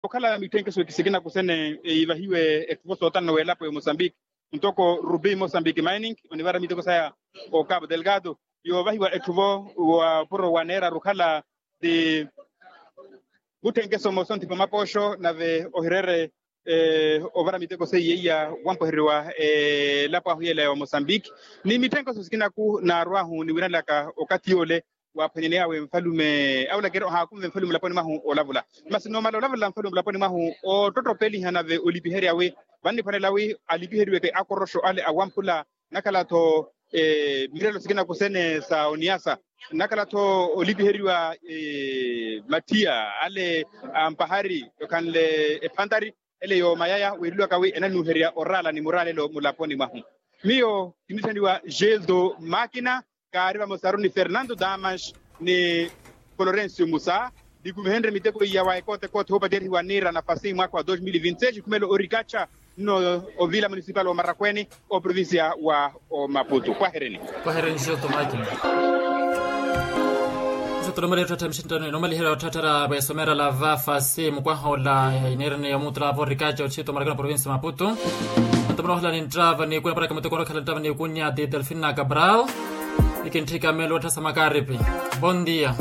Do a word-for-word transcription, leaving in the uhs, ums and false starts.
Okhala mitthenkheso sikina kusene ivahiwe etthuvo sootano w'elapo ya mosambiki, ntoko rubi mosambiki mining onivara miteko saya o cabo delgado, yoovahiwa etthuvo wa opuro waneeraru okhala ti mutthenkeso moosonthipa mapooxo nave ohireere ovara miteko seiya iya wampweheriwa elapo ahu yela ya mosambiki. Ni mitthenkeso sikinaku naarwahu niwiranlaka okathi yoole, waaphwanyaney'awe nfalume awulakeri ohaakumve nfalume mulaponi mwahu olavula. Masi noomala olavula nfalume mulaponi mwahu oottottopeliha nave olipiherya wi vanniphwanela wi alipiheriweke akoroxo ale awamphula, nakhala-tho mirelo sikina kusene sa oniyasa, nakhala-tho olipiheriwa mathiya ale ampahari okhanle ephantari ele yoomayaya wiiriwaka wi enanuuherya oraala ni muraalelo mulaponi mwahu. Miyo kinithaniwa geldo makina, kaari vamosaru ni fernando damas ni florencio musa. Nikumihenrye miteko iya wa ekoote ekoote hoopatyerihiwa niira nafasi mwaka wa dos mil vinti seis khumelo orikacha nno ovila municipal wa marakwene oprovincia wa omaputu kwahereni. Kwahereni sio tomakina. Sotolomali yotthattha mixinttano inomaliherya otthatthara vwesomeera lava fasi mukwaha ola ineerene yomuutula ava orikacha otthiito marakwene provincia maputu. Antomona ohala ninttava nikunya paraka mutekoni okhala nttava nikunya ti delfina cabral. Nikintthika melo otthasa makaripi. Bon dia.